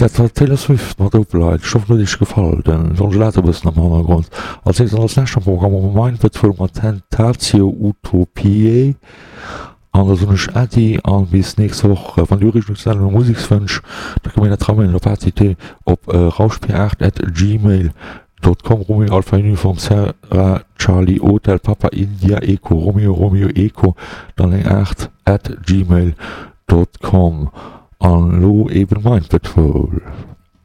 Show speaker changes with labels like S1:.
S1: Dat war d'Taylor Swift mat Opalite. Ech hoffen et huet iech gefall. Den Don Gelato e bëssen am Hannergrond. Als nächst an als lescht am Programm hu mer Mind Patrol mat Tentatio Utopiae. An da soen ech Äddi an bis nächst Woch. Wann dir Ureegungen oder Musekswënsch, da kënnt mir dat ramailen op att op rauschp8 at gmail dot com, Romeo Alpha Uniform Sierra Charlie Hotel Papa India Echo Romeo Romeo Echo dann eng 8 at gmail dot com. An elo eben Mind Patrol.